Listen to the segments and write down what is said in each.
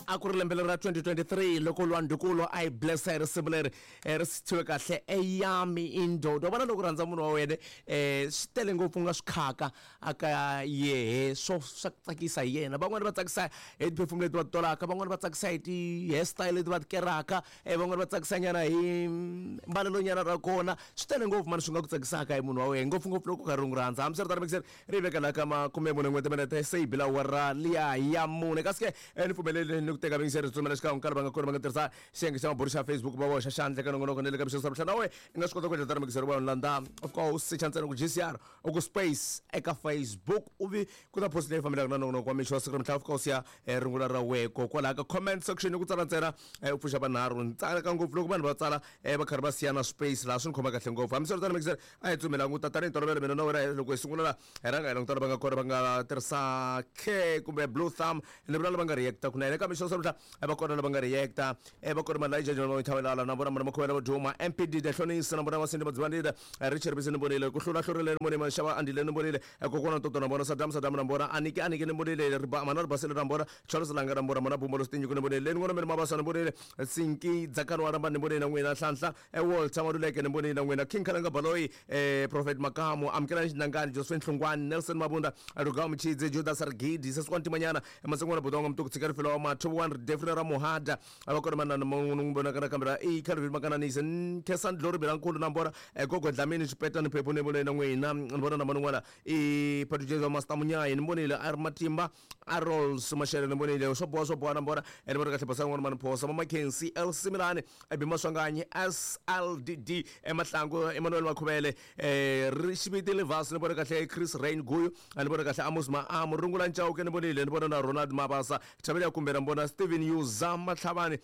A ku ri lembe leri ra 2023 loko lwandukulo a yi blessa hi risimu leri ri sithiwe kahle eyami indoda. Wa vona loko u rhandza munhu wa wena swi tele ngopfu u nga swi khaka aka yehe swo swa ku tsakisa hi yena. Van'wani va tsakisa hi ti-perfume leti va ti tolaka, van'wani va tsakisa hi ti-hairstyle leti va ti keraka, van'wani va tsakisa nyana hi mbalelo nyana ra kona. Swi tele ngopfu mani swi nga ku tsakisaka hi munhu wa wena ngopfungopfu loko u karhi u n'wi rhandza. Hambiswiritano mixer ri veka laha ka makume mune n'we timinete se yi bila awara liya ya mune. Kasi ke ni pfumeleli ni ku teka vayingiseri tsumela xikan'we ka lava nga kona va nga tirhisa xiyenge xa mabulu xa Facebook va boxa xandla eka nongonoko ni le ka mixo swa na we i nga swi kota ku endla tano mixer wa landza of course secha ntsena ku GCR u ku space eka Facebook u vi ku ta post leyi fambelaka na nongonoko wa mixo wa siku ra mihla of course ya rungula ra weko kwalaha ka comment section ku tsala ntsena u pfuxa vanharhu ni tsaka ngopfu loko vanhu va tsala va karhi va siya na space laha swi ni khoma kahle ngopfu. Hambiswiritano mixer a hi tsumi languta tanihi ntolovelo mina na wena loko hi sungula la hi rhanga hi languta lava nga kona va nga tirhisa k kumbe blue thumb ni vula lava nga reacta kunene eka mixo namuntlha va kona lava nga reacta va kona Malija John Mawithavelala na vona mana Makhuvela va Duma MPD Dehlonisa na vona Vasindi Madzivandile Richard Bisi ni vonile ku hlula hlurile ni vonile Maxava Andile ni vonile kokwana Toto na vona Saddam Saddam na vona Aniki Aniki ni vonile Riba mana Ribasile na vona Charles Langa na vona mana Bumbo Lositinyiko ni vonile Leni N'wana Miri Mabasa ni vonile Sinki Dzakani wa Ramba ni vonile na n'wina Nhlanhla Walter Maluleke ni vonile na n'wina King Khalanga Baloyi Prophet Makamu Amukelani Xinangani Josephine Hlungwani Nelson Mabunda Rugao Mchidze Judas Rigidi Seswana Timanyana Masingwana Budongo Mtuku Tshika Rifelo wa Mathu One Defrina ra Muhada va kona manana n'wi vonaka na kambe ra i Calvin Makananise Khensani Glory Belankulu na vona Gogo Dlamini Xipeta ni Phephu ni vonile na n'wina ni vona na man'wana i Patu Master Munyayi ni vonile a ri Matimba a Rolls Mashele ni vonile swo boha swo boha na vona ni vona kahle basa n'wana mani Phosa Mama Khensi L Similani Ebi Maswanganyi SLDD Emahlangu Emmanuel Makhuvele Rixiviti Livas ni vona kahle Chris Rain Guyu ni vona kahle Amos Maamu Rungula Ncauke ni vonile ni vona na Ronald Mabasa Thabela kumbe na vona Steven Yuza Matlhavani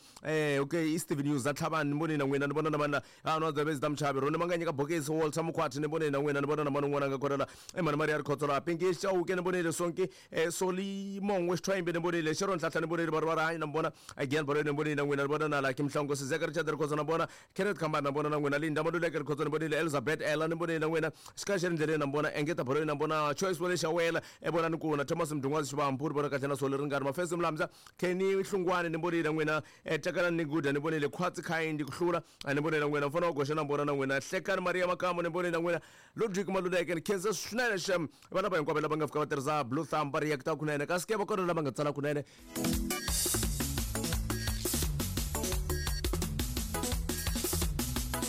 okay i Steven Yuza Tlhavani ni vonile na n'wina ni vona na vana a no dzabezi ta muchavi Roni Manganyika Bokisi Walter Mukhwati ni vonile na n'wina ni vona na mani un'wana a nga kona la Emani Maria Rikhotso la Pinki Chauke ni vonile Sonki Soli Mongwe Xithwayimbi ni vonile Sharon Hlahla ni vonile Varhu va Rihanyo na vona Again Baloyi ni vonile na n'wina ni vona na Lucky Mhlongo Sizeka Richard Rikhotso na vona Kenneth Khambani na vona na n'wina Linda Maluleke Rikhotso ni vonile Elizabeth Ella ni vonile na n'wina Xikaya xa le ndleleni na vona Engeta Baloyi na vona Choice Wele Xawela Evonani Kuna Thomas Mdungwazi Xivambu ni vona kahle na Soli Ringani Mafesi Mlamza Kenny Hlungwani ni vonile na n'wina Takalani ni Guda ni vonile Khwatsi Khayindi ku hlula ni vonile na n'wina Mfana wa Goxa na vona na n'wina Hlekani Maria Makamu ni vonile na n'wina Ludwig Maluleke ni khensa swinene xem vana va hinkwavo lava nga fika va tirhisa blue thumb va reacta kunene kasi ke va kona lava nga tsala kunene.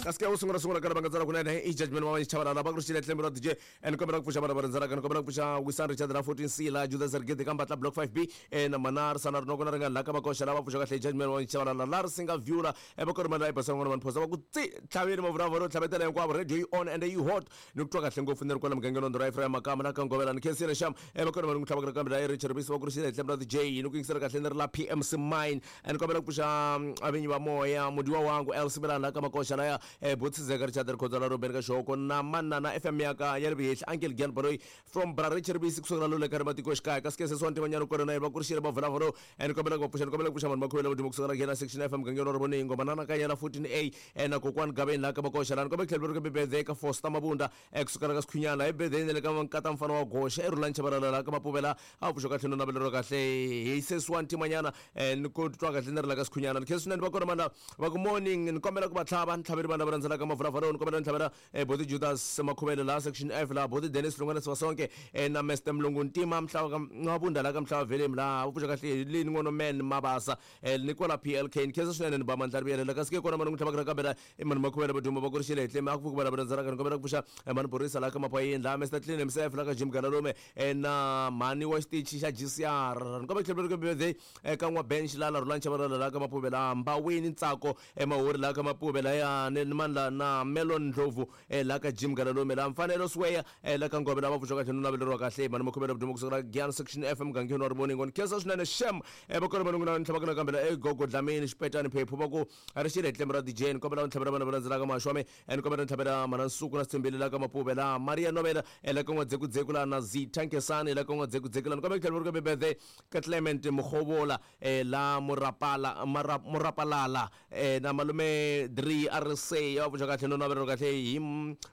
Kasi ke wo sungula sungula ka lava nga tsala kunene i judgment wa Chabalala va ku ri xile tlembe ra DJ ni kombela ku pfuxa vana va rindzelaka ni kombela ku pfuxa Wisan Richard ra 14 C la Judas Rigidi ka Mbatla block 5B na Manar Sana Rinoko na ringani la ka Makoxa lava pfuxa kahle judgment wa Chabalala la ri singa viewla va kona mali la yi basa n'wana vanhu phosa va ku tsi tlhaveni mavulavula tlhavetela hinkwavo radio yi on and yi hot ni ku twa kahle ngopfu ni ri kwala mugangeni wa Ndhura Ephraim Makama na ka Ngovela ni khensile xam va kona vanhu ku tlhavaka kambe la Richard Bisi va ku ri xile tlembe ra DJ ni ku yingisela kahle ni ri la PMC Mine ni kombela ku pfuxa avinyi va moya mudiwa wangu El Simelana la ka Makoxa laya Botsizeka Richard Rikhotso la Ruben ka Xihoko na Manana FM ya ka ya le Vihehli Uncle Gian Baloyi from Bra Richard Bisi kusukela lole ka ri matikoxikaya kasi ke sesi wa ntimanyana kona na yena va ku ri xile va vulavula ni kombela ku va pfuxa ni kombela ku pfuxa vanhu va khuvela vodimo kusukela nghena section FM mugangeni wa Rivoningo manana ka yena 14A na kokwani Gaveni laha ka Makoxa laha ni kombela ku tlhela ri birthday ka Foster Mabunda kusukela ka Sikhunyana hi birthday ni le ka nkata mfana wa Goxa eRhulani Chabalala laha ka Mapuvela a pfuxa kahle no naveleriwa kahle hi sesi wa ntimanyana ni ku twa kahle ni ri la ka Sikhunyana ni khensa swinene va kona vanhu va ku morning ni kombela ku va tlhava ni tlhaveli vanhu lava rhandzelaka mavulavula ni kombela ni tlhavela Boti Judas Makhuvele laha section F laha Boti Dennis Lungwana Sivasonke na Mr Mlungu Ntima Mhlava Mabunda laha ka Mhlava Velemi laha u pfuxa kahle Lini N'wana Man Mabasa ni kwala PLK ni khensa swinene ni ba mandla ri vuyelela kasi ke kona mani n'wi tlhavaka nakambe la i mani Makhuvele Vaduma va kurixile hi tlemi a ku pfuki vanhu rhandzanaka ni kombela ku pfuxa mani Borisa laha ka Mapayeni laha Mr Clean himself laha ka Jim Galalume na mhani wa xitichi xa GCR ni kombela ku tlhela ri birthday ka n'wa Bench laha la Rhulani Chabalala laha ka Mapuve laha Mbaweni Ntsako Emahori laha ka Mapuve laya ni mani la na Melon Ndlovu laha ka Jim Galalume laha Mfanelo Sweya laha ka Ngove laha va pfuxa kahle no naveleriwa kahle mani Makhuvele Vudumo kusukela Giyani section F mugangeni wa Rivoningo ni khensa swinene shem va kona vanhu n'wina ni tlhavaka nakambe la Gogo Dlamini Xipetani Phephu va ku ri xile hi tlembe ra DJ ni kombela ni tlhavela vana va landzelaka mahashu wa me ni kombela ni tlhavela mana Nsuku na Sithembile laha ka Mapuve laha Maria Novela laha ka N'wadzekudzeko laha na Zitha Nkesani laha ka N'wadzekudzeko laha ni kombela ku tlhela ri ka birthday ka Clement Mukhovola la Murapala Murapalala na malume Dri a ri se kahle ya va pfuxa kahle no navelelo kahle hi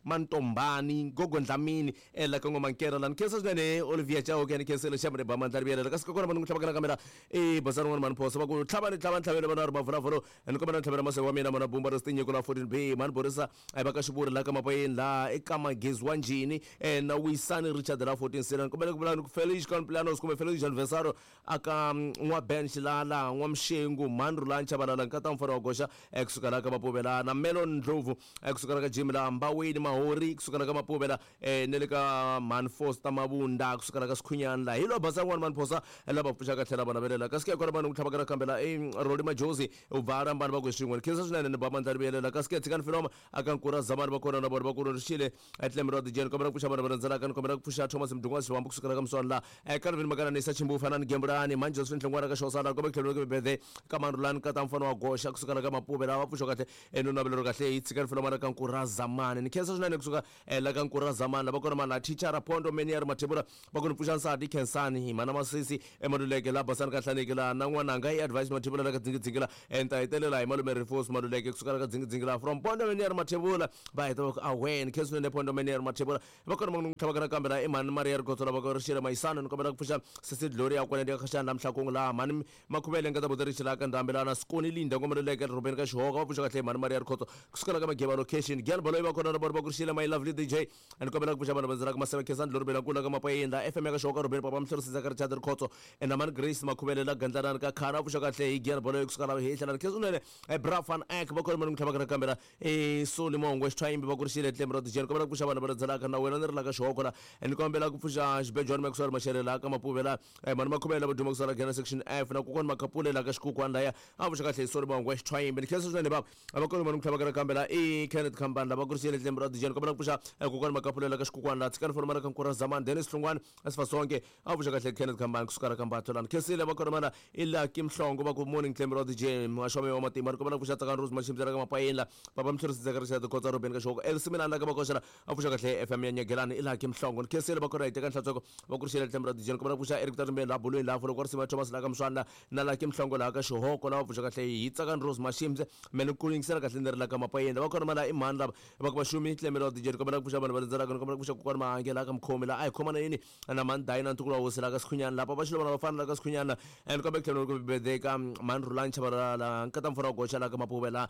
Mantombani Gogo Dlamini la ka N'wamankera la ni khensa swinene Olivia Chauke ni khensile xamre ba mandla rivelela kasi kokwana vanhu tlhava kana kamera e basana n'wana mani phosa va ku tlhava ni tlhava ni tlhavele vana ri mavulavuro ni kombela ni tlhavela maseve wa mina mana bumba ri stinyiko la 14 B mani borisa va ka xivuri la ka mapayeni la eka magezi wa njhini na wisani Richard la 14 sela ni kombela ku vula ni ku Feliz Cumpleaños kumbe Feliz Anniversario aka n'wa Ben Xilala n'wa Mxengu mani Rhulani Chabalala nkata mfana wa goxa kusuka la ka Mapuvela na Melon Ndlovu kusuka la ka Jim la Mbaweni Mahori kusuka la ka Mapuvela na le ka Mhani Foster Mabunda kusuka la ka Sikhunyani la hi lo basa n'wana Mhani Phosa lava pfuxaka tlhela va navelela kasi ke kona vanhu ku tlhava ka kambe la i Roli Majozi u ba rambani va ku swin'we ni khensa swinene ni ba mandla rivelela kasi ke tshikani filoma aka nkura zamani va kona na vona va ku rixile tleme ra dijeni kombela ku pfuxa vanhu va rhandzelaka ni kombela ku pfuxa Thomas Mdungwa Xiwambu kusukela ka Muswana la Calvin Makananisa Chimbufa na Gembulani Mhani Josephine Hlongwana ka Xosana kombela ku tlhela ku bebede ka Mandlulani ka ta mfana wa goxa kusukela ka Mapuve lava pfuxa kahle no navelelo kahle hi tshikani filoma la ka nkura zamani ni khensa swinene kusuka la ka nkura zamani lava kona mana thichara Pondo Menier Mathebula va ku ni pfuxa nsati Khensani mana Masisi emaluleke la basani ka hlaneki la na n'wananga i advice Mathebula la ka dzingidzingi la ni ta hetelela hi malume Rifos Maluleke kusuka la ka dzingidzingi la from Pondo Menier Mathebula va heta va ku awen khensa swinene Pondo Menier Mathebula va kona va tlhava ka nakambe la i mhani Maria Rikhotso lava ku rixile Mayisano ni kombela ku pfuxa sesi Gloria kwale ndi ka Khashani la Mhlakungu la mhani Makhuvele nga ta buti rixile ka ndhambi la na Sikoni Linda ngomeleleke rhobeni ka Xihoka va pfuxa kahle mhani Maria Rikhotso kusukela ka Mageba location Gyal Baloyi va kona na vona va ku rixile my lovely DJ ni kombela ku pfuxa vanhu va ndzela ka Maseve Khensani Dlorobeni la kula ka Mapayeni la FM ya ka Xihoka Rhobeni Papa Mhlorisisa ka Richard Rikhotso na mhani Grace Makhuvele la Gandlanani ka Khana va pfuxa kahle hi Gyal Baloyi kusuka la hehla la Khensa swinene Bra Van Eck va kona mani ku tlhava ka nakambe la Soli Mongwe Xithwayimbi va ku rixile tlemi ra dijeni kombela ku pfuxa vanhu va rhandzelaka na wena ni ri la ka Xihoko la ni kombela ku pfuxa Xibejwani Maxwell Maxele la ka Mapuve la mhani Makhuvele lava duma kusuka la Gena section F na kokwani Makhapule la ka Xikukwani laya a pfuxa kahle hi Soli Mongwe Xithwayimbi ni khensa swinene bava a va kona mani ku tlhava ka nakambe la i Kenneth Khambani lava ku rixile tlemi ra dijeni kombela ku pfuxa kokwani Makhapule la ka Xikukwani la tshikani foroma la ka Nkura Zamani Dennis Hlungwani Asifasonke a pfuxa kahle Kenneth Khambani kusuka la ka Mbatho la ni khensile va kona mana i Lucky Mhlongo va ku morning tlemi ra DJ Maxome wa matimba ni kombela ku pfuxa Tsakani Rose Machimbisa la ka Mapayeni la Papa Mhlorisi Dzeka Richard Khotsa Robeni ka Xihoko Elsimilani la ka Makoxa la a pfuxa kahle FM ya Nyagelani i Lucky Mhlongo ni khensile va kona hi teka nhlantsweko va ku rixile tlemi ra DJ ni kombela ku pfuxa Eric Tarimbeni la Bulweni la Foloko Risima Thomas la ka Mswana la na Lucky Mhlongo la ka Xihoko la va pfuxa kahle hi Tsakani Rose Machimbisa me ni ku yingisela kahle ni ri la ka Mapayeni va kona mana i mhani lava va ku Vaxumi tlemi ra DJ ni kombela ku pfuxa vanhu va rindzelaka ni kombela ku pfuxa kokwani Mahange la ka Mkhomi la a hi khomana yini na mhani Dayina ntukulu wa hosi la ka Sikhunyana lapa va xilo vana vafana la ka Sikhunyana ni kombela ku tlhela ku bebedeka mhani Rhulani Chabalala nkata mfana wa goxa la ka Mapuve la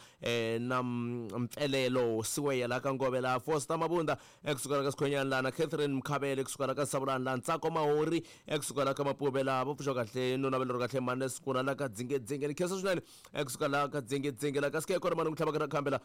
na Mpfelelo Siweya la ka Ngove la Foster Mabunda kusuka la ka Sikhunyana la na Catherine Mkhabele kusuka la ka Savulani la Ntsako Mahori kusuka la ka Mapuve la va pfuxa kahle no navelero kahle mhani Sikuna la ka Dzingedzinge ni khensa swinene kusuka la ka Dzingedzinge la ka sike kona mhani ku tlhava ka nakambe la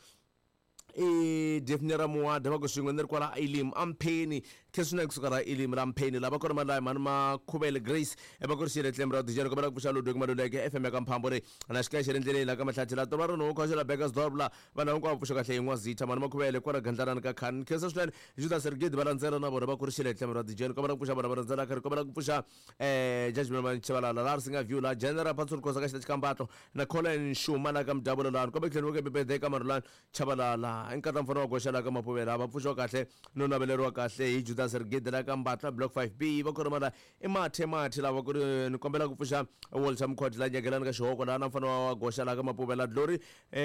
i Daphne Ramuwada va ku swin'we ni ri kwala Elim Ampheni khe swinene kusuka ra Elim ra Mpheni lava kona mali mhani Makhuvele Grace va ku rixile tlemi ra dijeni kombela ku pfuxa Ludwig Maluleke FM ya ka Mphambo ri na xikaya xi ri ndleleni la ka Mahlathi la tova ri no khoxela Bekkersdorp la vanhu hinkwavo pfuxa kahle hi N'wazitha mhani Makhuvele kwala Gandlanani ka Khani khensa swinene Judas Rigidi va landzela na vona va ku rixile tlemi ra dijeni kombela ku pfuxa vanhu va rhandzelaka ri kombela ku pfuxa Judgment Manchivalala la ri singa view la General Patson Khosa ka xita xikambatlo na Colin Shuma la ka Mdabulo la kombela ku tlhela ku bebede ka Marulani Chabalala i nkata mfana wa goxa la ka Mapuvela va pfuxiwa kahle no naveleriwa kahle hi Judas Rigidi la ka Mbatla block 5B va kona la i mathe mathe lava ku ri ni kombela ku pfuxa Walter Mkhwati la nyagelani ka Xihoko la na mfana wa goxa la ka Mapuvela Glory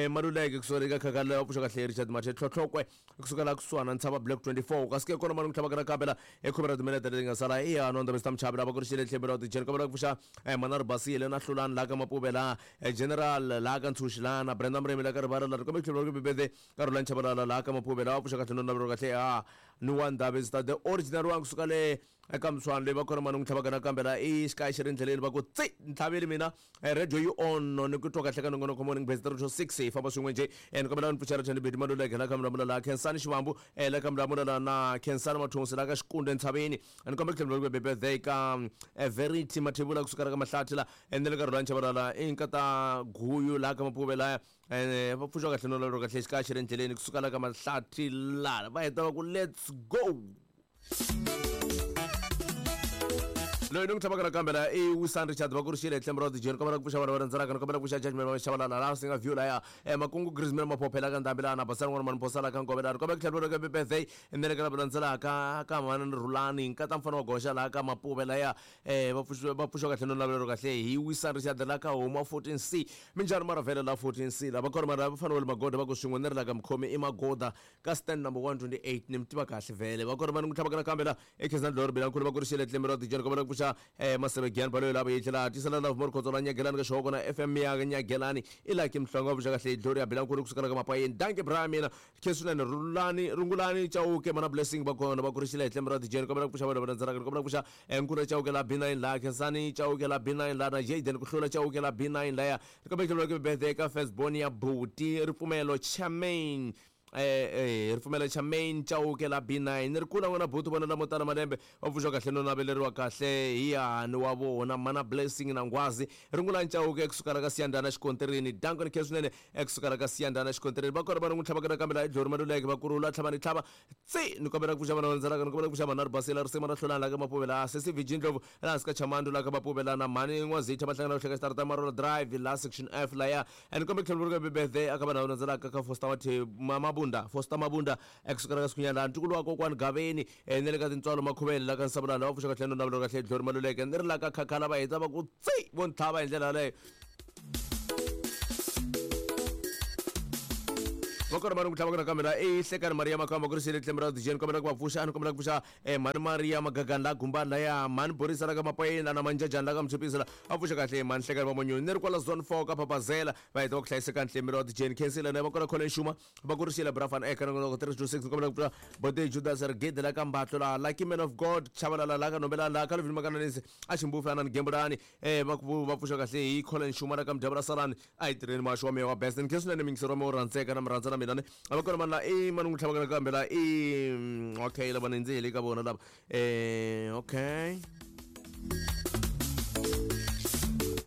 Maluleke kusuka le ka Khakhala va pfuxiwa kahle hi Richard Mathe Tlhotlhokwe kusuka la kusuhana Ntshava block 24 kasi ke kona mani ku tlhava ka nakambe la i khume ra timinete leti nga sala i ya Nonda Mr Mchavi lava ku ri xile tlhelo ra tijeni kombela ku pfuxa Manari Basile na Hlulani la ka Mapuvela General laha ka Ntshuxi laha na Brenda Murimi la ka Rivala la ri kombe tlhelo ri bebede ka Rhulani Chabalala laha ka Mapuve laha va pfuxa kahle no navelo kahle a ni wa Ndhavi Star the original wa kusuka le eka Mswani leyi va kona mani n'wi tlhavaka nakambe la i xikaya xi ri ndleleni va ku tsi ni tlhaveli mina radio yi on ni ku twa kahle ka nongonoko morning base 3 to 6 hi famba swin'we njhe ni kombela ni pfuxela Thandi Bedi Maluleke la ka Mulamula la Khensani Xivambu la ka Mulamula la na Khensani Mathonsi la ka Xikunde Ntshaveni ni kombela ku tlhela ku bebede ka Verity Mathebula kusuka la ka Mahlathi la ene le ka Rhulani Chabalala i nkata Guyu laha ka Mapuve laya ene va pfuxiwa kahle no lero kahle xikaya xi ri endleleni kusuka la ka Mahlathi la va heta va ku let's go. Loyi ni n'wi tlhavaka nakambe la i Wisan Richard va ku ri xile tlhembe ra dijeni kombela ku pfuxa vana va rhandzanaka ni kombela ku pfuxa judgment va xavalala laha singa view laya makungu Griezmann maphophela ka ndhambi laha na basana n'wana mani phosala ka nkove laha ni kombela ku tlhela ka birthday ni le ka lava landzelaka ka mhani ni Rhulani nkata mfana wa goxa laha ka Mapuve laya va pfuxiwa va pfuxiwa kahle no navelelo kahle hi Wisan Richard la ka huma 14C minjhani mara vhele la 14C lava kona mara va fana wa le magoda va ku swin'we ni ri la ka mukhomi i magoda ka stand number 128 ni mi tiva kahle vhele va kona va ni n'wi tlhavaka nakambe la ekhezani dloro bilankulu va ku ri xile tlembe ra tijeni kombela ku pfuxa maseve giyani baloyi lava yi tlhela tisela love more khotso la nyagelani ka xihoko na fm ya nyagelani i laki mhlongo va pfuxa kahle gloria bilankulu kusukela ka mapayeni danke bra mina khe swinene rulani rungulani chauke mana blessing va kona va ku ri xile tlembe ra tijeni kombela ku pfuxa vanhu va landzelaka kombela ku pfuxa nkuna chauke la B9 la khensani chauke la B9 la na Jaden ku hlula chauke la B9 laya kombela ku tlhela ku birthday ka firstborn ya buti ripfumelo Charmaine ripfumelo Charmaine Chauke la B9 ni ri kula n'wana buti vona lamo tala malembe va pfuxiwa kahle no naveleriwa kahle hi yani wa vona mana blessing na ngwazi ringulani Chauke kusukela ka Siyandana xikontirini danko ni khe swinene kusukela ka Siyandana xikontirini va kona va n'wi tlhavaka nakambe laha idlori maluleke va kurula tlhava ni tlhava tsi ni kombela ku pfuxa vana va landzelaka ni kombela ku pfuxa mhani ribasela risima ra hlulani la ka Mapuve laha sesi Virgin Ndlovu laha hansi ka Chamandu la ka Mapuve laha na mhani N'wazitha va hlangana ku hleka xitarata Marola Drive la section F laya and kombe ku tlhela ku birthday aka vanhu lava landzelaka ka Foster Mathe Mabunda Foster Mabunda ekusukela ka Sikhunyana laha ntukulu wa kokwani Gaveni na le ka tintswalo Makhuvele la ka Nsabulana va pfuxa kahle no navelo kahle Dlori Maluleke ni ri la ka Khakhala va heta va ku tsi vo ntlhava hi ndlela yaleyo va kona va ni ku tlhava nakambe la i hlekani Maria Makamba ku ri xile tlembe ra dijeni kombela ku va pfuxa a ni kombela ku pfuxa mhani Maria Magagani la Gumbani laya mhani Borisa la ka Mapayeni la na Manjajani la ka Mchipisi la va pfuxa kahle mhani hlekani va Manyoni ni ri kwala zone 4 ka Papazela va heta va ku hlayiseka ntlemi ra dijeni khensile na va kona Colin Shuma va ku ri xile Brafan eka nongonoko 326 ni kombela ku pfuxa Bote Judas Rigidi la ka Mbatlo la Lucky Man of God Chabalala la ka Nombelani la Calvin Makananisi a Ximbufu ana ni Gembulani va ku va pfuxa kahle hi Colin Shuma la ka Mdyavula Salani a hi tirheni maxi wa meya wa best ni khe swinene mingisero wa meya wo rhandzeka na mi rhandza na mina ni a va kona mani la i mani n'wi tlhavaka nakambe la i okay lava ni ndzi heli ka vona lava okay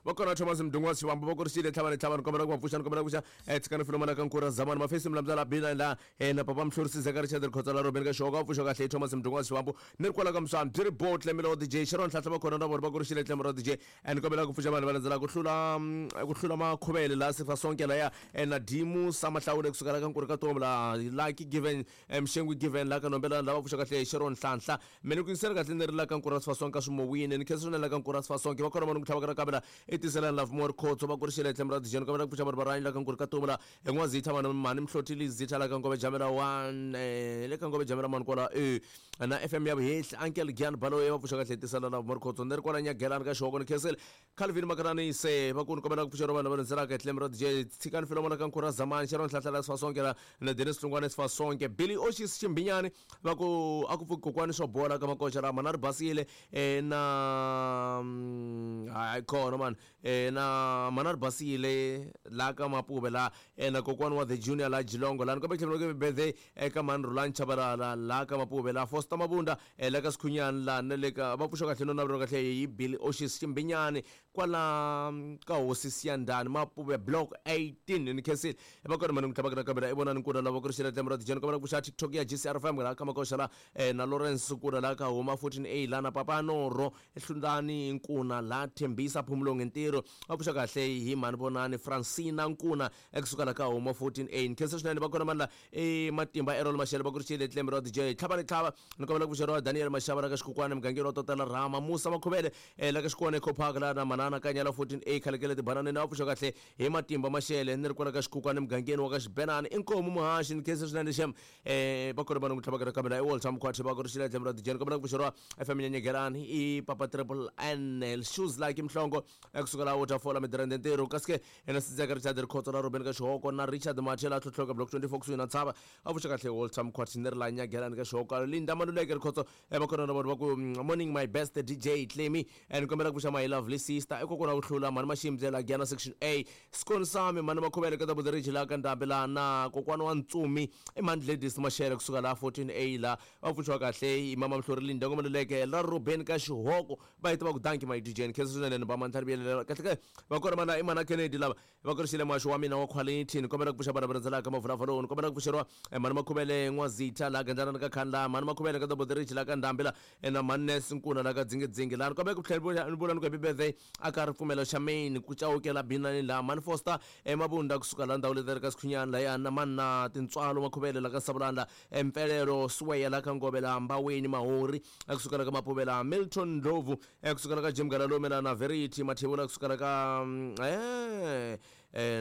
va kona Thomas Mdungu wa Xivambu va ku ri xile tlhava ni tlhava ni kombela ku va pfuxa ni kombela ku pfuxa tshikani filomana ka nkura zamani mafesi milambyala la bina la na papa Mhlorisi Zeka Richard Rikhotsa la Robeni ka Xihoko va pfuxa kahle Thomas Mdungu wa Xivambu ni ri kwala ka Mswani byi ri botle milo DJ Sharon Nhlahla va kona na vona va ku ri xile tlhelo ra DJ and kombela ku pfuxa vanhu va landzela ku hlula ku hlula makhuvele laha sifa sonke laya na Dimu Samahlawule kusukela ka nkuri ka tomu la Lucky Given Mxengwi Given la ka Nombelani lava pfuxa kahle Sharon Nhlanhla mina ku yingisela kahle ni ri la ka nkuri ra sifa sonke swimowini ni khensa swinene la ka nkuri ra sifa sonke va kona vanhu ku tlhavaka na kambela i tiselani Love More Khotso va ku ri xile tlhelo ra DJ ni kombela ku pfuxa vanhu va ranyi la ka nkuri ka tomu la N'wazitha vanhu mhani Mhlotili Zitha la ka Ngove Jamela 1 le ka Ngove Jamela mani kwala na FM ya Vuhehli Uncle Gian Baloyi va pfuxa kahle tisela la Morkhotso ni ri kwala Nyagelani ka Xihoko ni khensile Calvin Makarani se va ku ni kombela ku pfuxeriwa vanhu lava rhendzelaka hi tlhelo ra DJ Tshikani Filomona ka Nkhura Zamani Sharon Nhlahla Sifasonke la na Dennis Hlungwane Sifasonke Billy Oshis Ximbinyani va ku a ku pfuki kokwani swo bola ka makoxa la mana ri basile na hayi khona mani na mana ri basile la ka Mapuve la na kokwani wa the junior la Jilongo la ni kombela tlhelo birthday eka mhani Rhulani Chabalala la ka Mapuve la Foster Mabunda la ka Sikhunyani la na le ka va pfuxa kahle no navelo kahle hi Billy Oshis Ximbinyani kwala ka hosi Siyandhani Mapuve block 18 ni khensile va kona mhani ku tlhavaka na kambe la i vonani nkuna lava ku ri xela tlhelo ra dijeni kombela ku pfuxa TikTok ya GCR FM la ka Makoxa la na Lawrence Nkuna la ka Huma 14A la na Papa Noro Hlundani Nkuna la Thembisa Phumulonge Ntirho va pfuxa kahle hi mhani Vonani Francina Nkuna ekusuka la ka Huma 14A ni khensa swinene va kona mani la i Matimba Errol Mashele va ku ri xile tlembe ra DJ tlhava ni tlhava ni kombela ku pfuxeriwa Daniel Mashava la ka Xikukwana mugangeni wa Totela Rama Musa Makhuvele la ka Xikwana Eco Park la na Manana Kanyala 14A Khalekele Tibananeni va pfuxa kahle hi Matimba Mashele ni ri kwala ka Xikukwana mugangeni wa ka Xibenani inkomu muhaxi ni khensa swinene xem va kona vanhu ku tlhavaka nakambe la i Walter Mkhwathe va ku ri xile tlembe ra DJ ni kombela ku pfuxeriwa FM Nyanyegelani i Papa Triple N Shoes Like Mhlongo ekusuka la Waterfall Midrand Ntirho kasi ke ena Sidzeka Richard Rikhotso la Ruben ka Xihoko na Richard Machela tlhotlhoka block 24 kusuhi na Ntshava a pfuxa kahle Walter Mkhwathe ni ri la Nyagelani ka Xihoko Linda Maluleke Rikhotso va kona na vanhu va ku morning my best DJ Clemmy and kombela ku pfuxa my lovely sister Foster i kokwana ku hlula mhani Maximbyela Giyana section A Skoni Sami mhani Makhuvele ka Double Ridge la ka Ndhambi la na kokwana wa Ntsumi i mhani Gladys Mashele kusuka la 14A la va pfuxiwa kahle hi mama Mhlori Linda Ngomeleleke la Ruben ka Xihoko va yi tiva ku danki my DJ ni khensa swinene ni ba mandla riviyelela kahle kahle va kona mana i mana Kennedy lava va kurisile muhaxo wa mina wa quality ni kombela ku pfuxa vana va rhandzelaka mavulavuloni ni kombela ku pfuxeriwa mhani Makhuvele N'wazitha laha Gandlana ka Khandla mhani Makhuvele ka Double Ridge laha ka Ndhambi la na mhani Nes Nkuna laha ka Dzingidzingi laha ni kombela ku tlhela ni vula ni ku happy birthday a ka ripfumelo xa main ku cawukela binani laha mhani Foster eMabunda kusuka laha ndhawu leti ri ka Sikhunyani lahaya na mhani na Tintswalo Makhuvele laha ka Savulani la Mpfelelo Sweya laha ka Ngove laha Mbaweni Mahori kusuka la ka Mapuve laha Milton Ndlovu kusuka la ka Jim Galalume la na Verity Mathebula kusuka la ka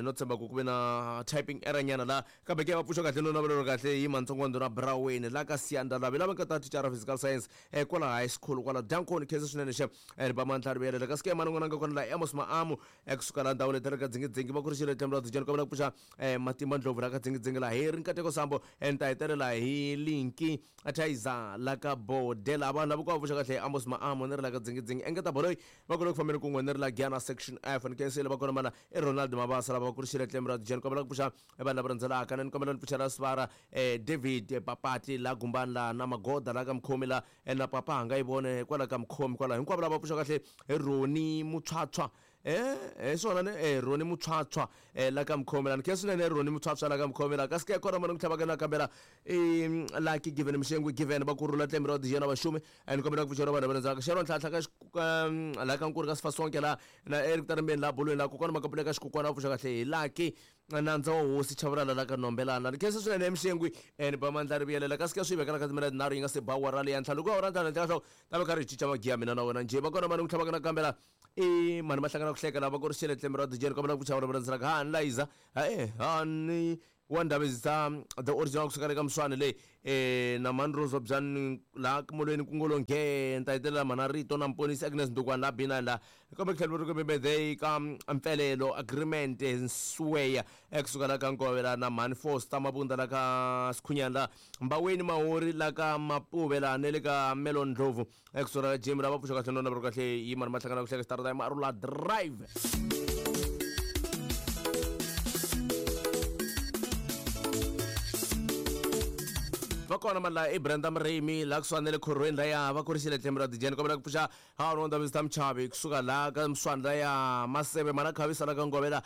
no tshemba ku ku ve na typing error nyana la kambe ke va pfuxa kahle no navelelo kahle hi mantsongondo na Braweni la ka Siyanda lavi lava nga ta thicara physical science kwala high school kwala Dankoni khensa swinene xe ri ba mandla ri vuyelela kasi ke mani n'wana nga kona la Amos Maamu kusuka la ndhawu leti ri ka Dzingidzingi va kurisile tlhelo ra Dzijani kombela ku pfuxa Matimba Ndlovu la ka Dzingidzingi la hi ri Nkateko Sambo ni ta hetelela hi Linki Thaiza la ka Bodela vanhu lava ku va pfuxa kahle Amos Maamu ni ri la ka Dzingidzingi engeta boloyi va kule ku fambeni kun'we ni ri la Giyana section F ni khensile va kona mana i Ronald Mabasa lava va kurisile tlhelo ra Dzijani kombela ku pfuxa vanhu lava rhandzelaka ni kombela ni pfuxela Sivara David Papati la Gumbani la na Magoda la ka Mkhomi la na Papa hanga yi vone kwala ka Mkhomi kwala hinkwavo lava pfuxa kahle Roni Mutswatswa swona ne Roni Mutswatswa la ka Mkhomi la ni khensa swinene Roni Mutswatswa la ka Mkhomi la kasi ke kona mani ku tlhavaka nakambela i Lucky Given Mxengwe Given va kurhula tlembe ra Dijena Vaxumi ni kombela ku pfuxela vanhu va rhandzaka Sharon Ntlhantlha ka la ka Nkuri ka Sifasonke la na Eric Tarimbeni la Bolweni la kokwana Makapula ka Xikukwana va pfuxa kahle hi Lucky nandza wa hosi Chavalala la ka Nombelana ni khensa swinene Mxengwi ni ba mandla ri vuyelela kasi ke swi vekela ka timinete tinharhu yi nga se ba awara leya ntlhanu ku awara ntlhanu ntlhanu ta va karhi hi cinca magiya mina na wena njhe va kona mani ku tlhavaka nakambela i mani va hlangana ku hleka lava ku ri xele tlembe ra Dijeni kombela ku pfuxa vana va rhandzelaka ha ni Liza ha ni wa Ndabezitha the original kusuka le ka Mswane leyi na mhani Rose Byani laha molweni ku ngolo nge ni ta hetelela mhana Rito na Mponisi Agnes Ndukwana laha B9 laha kombe ku tlhela ri kumbe birthday ka Mpfelelo agreement Nsweya kusuka la ka Nkove la na mhani Foster Mabunda la ka Sikhunyani la Mbaweni Mahori la ka Mapuve la ne le ka Melon Ndlovu kusuka la ka Jim lava pfuxa kahle nona va ri kahle yi mani mahlangana ku hleka xitarata Marula Drive. Va kona mani laha i Brenda Mremi laha kusuhani na le khorhweni laya va kurisile tlhelo ra Dijeni kombela ku pfuxa ha wona Ndabezitha Mchavi kusuka laha ka Mswani laya Maseve mana Khavisa la ka Ngovela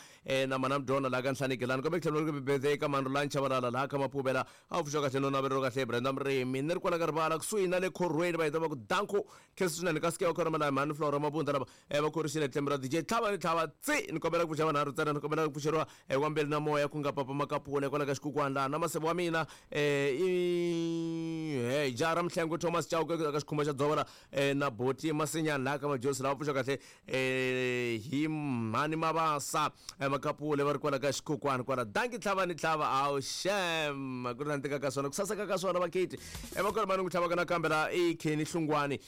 na mana Mdona laha ka Nhlaniki lani kombe tlhelo ri birthday ka mani Rulani Chavalala laha ka Mapuvela a wu pfuxa kahle no navelelo kahle Brenda Mremi ni ri kwala ka rivala kusuhi na le khorhweni va heta va ku danko khensa swinene kasi ke va kona mani mhani Flora Mabunda lava va kurisile tlhelo ra DJ tlhava ni tlhava tsi ni kombela ku pfuxa vanharhu ntsena ni kombela ku pfuxeriwa wa mbeli na moya ku nga Papa Makapula kwala ka Xikukwana laha na maseve wa mina i hey Jara Mhlengo Thomas Chauke ka Xikhumba xa Dzova la na Boti Masinyani laha ka Majosi lava pfuxa kahle hi mhani Mabasa Makapule va ri kwala ka Xikukwana kwala danki tlhava ni tlhava awu xem ku ri na ntika ka swona ku saseka ka swona vaketi va kona mani ku tlhavaka nakambe la i Kenny Hlungwani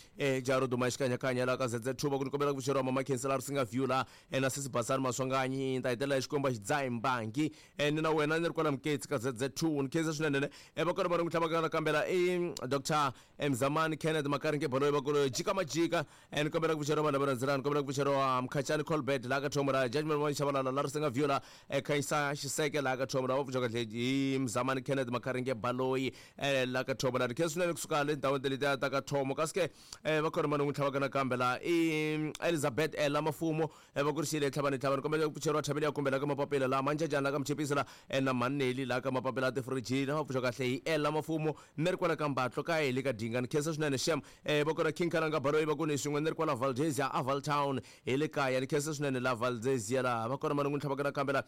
jaro duma xikanyakanya laha ka ZZ2 va ku ni kombela ku pfuxeriwa mama Khensa la Risinga View la na sesi Basani Maswanganyi ni ta hetelela hi Xikwembu a xi dzahi mbangi ni na wena ni ri kwala Muketsi ka ZZ2 ni khensa swinene ne va kona mani ku tlhavaka nakambe la i Dr Mzamani Kenneth Makaringe Baloyi va ku jika majika ni kombela ku pfuxeriwa vanhu lava rhandzelana ni kombela ku pfuxeriwa Mkhachani Colbert laha ka Thomo ra Judgment One Shabalala la Risinga View la Khanyisa Xiseke laha ka Thomo la va pfuxa kahle hi Mzamani Kenneth Makaringe Baloyi la ka Thomo la ni khensa swinene kusuka le ndhawini ta letiya ta ka Thomo kasi ke va kona mani n'wi tlhavaka nakambe la i Elizabeth la Mafumo va kurisile tlhavani tlhavani kombela ku pfuxeriwa Thabile ya kumbe la ka Mapapila la Manjajani la ka Mchipisi la na Mhani la ka Mapapila tifirijini va pfuxa kahle hi Ella Mafumo ni ri kwala ka Mbatlo ka hi le ka Dinga ni khensa swinene xem va kona King Kalanga Baloyi va ku ni swin'we ni ri kwala Valdezia a Valtown hi le kaya ni khensa swinene la Valdezia laha va kona mani n'wi tlhavaka nakambe la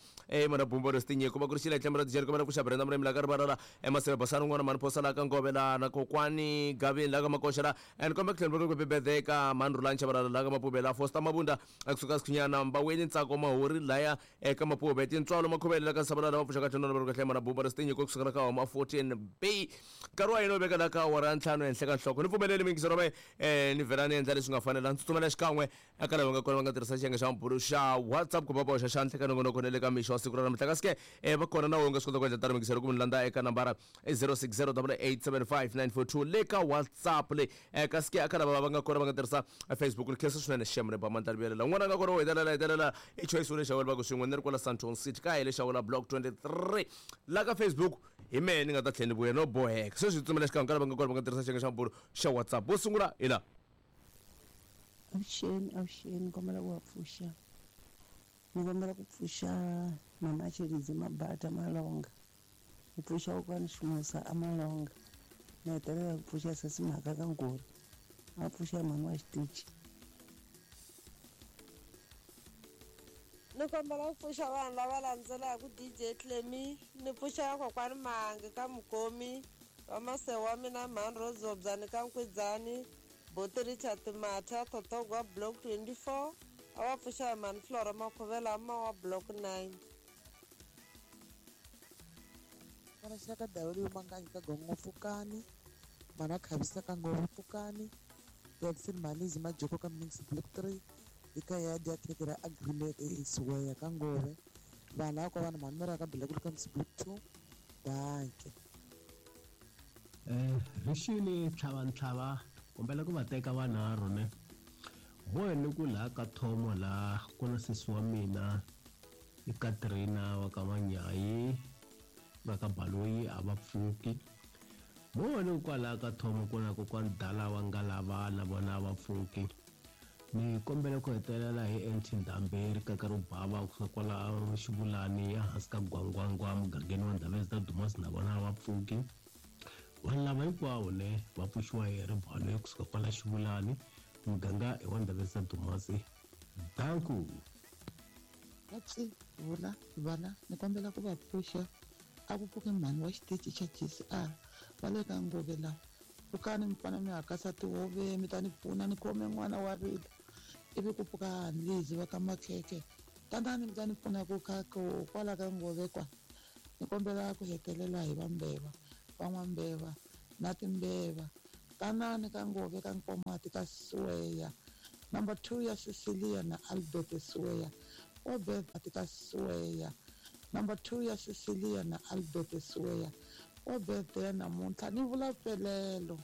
mana Bumbo ri Tinyiko va kurisile tlhelo ra Dijeni kombela ku pfuxa Brenda Murimi la ka Rivala la Maseve Basani un'wana mhani Phosa la ka Ngove la na kokwani Gavini la ka Makoxa la ni kombela ku tlhela ku birthday ka mhani Rulani Chavalala la ka Mapuve la Foster Mabunda kusuka Sikhunyana Mbaweni Ntsako Mahori laya eka Mapuve Tintswalo Makhuvele la ka Sabalala va pfuxa kahle nona va ri kahle mana Bumbo ri Tinyiko kusuka la ka Homa 14 B. Nkarhi wa hina wu veka la ka awara ya ntlhanu ehenhla ka nhloko. Ni pfumeleli miyingiseri wa mehe ni vhela ni endla leswi nga fanela, ni tsutsumela xikan'we eka lava nga kona va nga tirhisa xiyenge xa mabulo xa WhatsApp ku va va hoxa xandla eka nongonoko na le ka mixo wa siku ra namuntlha. Kasi ke va kona na wena u nga swi kota ku endla tano miyingiseri ku mi landza eka nambara 060 887 5942 le ka WhatsApp leyi. Kasi ke eka lava va nga kona va nga tirhisa Facebook, ni khensa swinene xem ni ba mandla vuyelela. Un'wana a nga kona wo hetelela hetelela i Choice wa le Xawela, va ku swin'we ni ri kwala Sandton City ka hi le Xawela block 23 la ka Facebook. Hi mehe ni nga ta tlhela ni vuya no boheka sweswi hi tsutsumela xikan'we ka lava nga kona va nga tirhisa xiyenge xa mabulo xa WhatsApp. Vo sungula hi la. Avuxeni, avuxeni, kombela ku va pfuxa. Ni kombela ku pfuxa mama Chelidzi Mabata Malonga. Ni pfuxa kokwani Ximusa a Malonga. Ni hetelela ku pfuxa sesi Mhaka ka Ngori. A pfuxa mhani wa xitichi. Ni kombela ku pfuxa vanhu lava landzelaka DJ Clemy, ni pfuxa ya kokwani Mahangi ka Mukomi, va masewa wa mina mhani Rozobzani ka Nkwidzani, Boti Richard Matha, Thothogwa Block 24, a va pfuxa hi mhani Flora Makhuvela ma wa Block 9. Vana xaka W Manganyi ka Gongo Pfukani, Mana Khavisa ka Ngove Pfukani, Jackson Malizi Majoko ka Mnix Block 3, eka ya dya khekhe ra agreement eSiweya ka Ngove. Vanhu lava ka vanhu mhani ka Block ka Mnix Block 2. Danke. Rixini tlhava kombela ku va teka vanharhu ne. Moya ni ku laha ka thomo la ku na sesi wa mina i Katrina wa ka Manyayi va ka Baloyi a va pfuki. Moya ni ku kwalaha ka thomo ku na kokwani Dala wa Ngalava na vona a va pfuki. Ni kombela ku hetelela hi NT Ndhambe ri kaka ro bava kusuka kwala Xivulani ehansi ka Gwangwangwa mugangeni wa Ndhavezita Dumas na vona a va pfuki. Vanhu lava hinkwavo ne va pfuxiwa hi ribalo kusuka kwala Xivulani muganga i wa Ndhavezita Dumas. Danku. Vatsi vula vana ni kombela ku va pfuxa a ku pfuki mhani wa xitichi xa GCR va le ka Ngove laha. Pfukani mi pfana mi hakasa tihove mi ta ni pfuna ni khome n'wana wa rila. Ivi ku pfuka Lizi va ka Makhekhe. Tanani mi ta ni pfuna ku kha kwala ka Ngove kwa. Ni kombela ku hetelela hi va Mbeva, va N'wambeva na Timbeva. Tanani ka Ngove ka Nkomati ka Siweya. Number 2 ya Cecilia na Albert Siweya. Obert ka Siweya. Number 2 ya Cecilia na Albert Siweya. Obert ya namuntlha ni vula pelelo.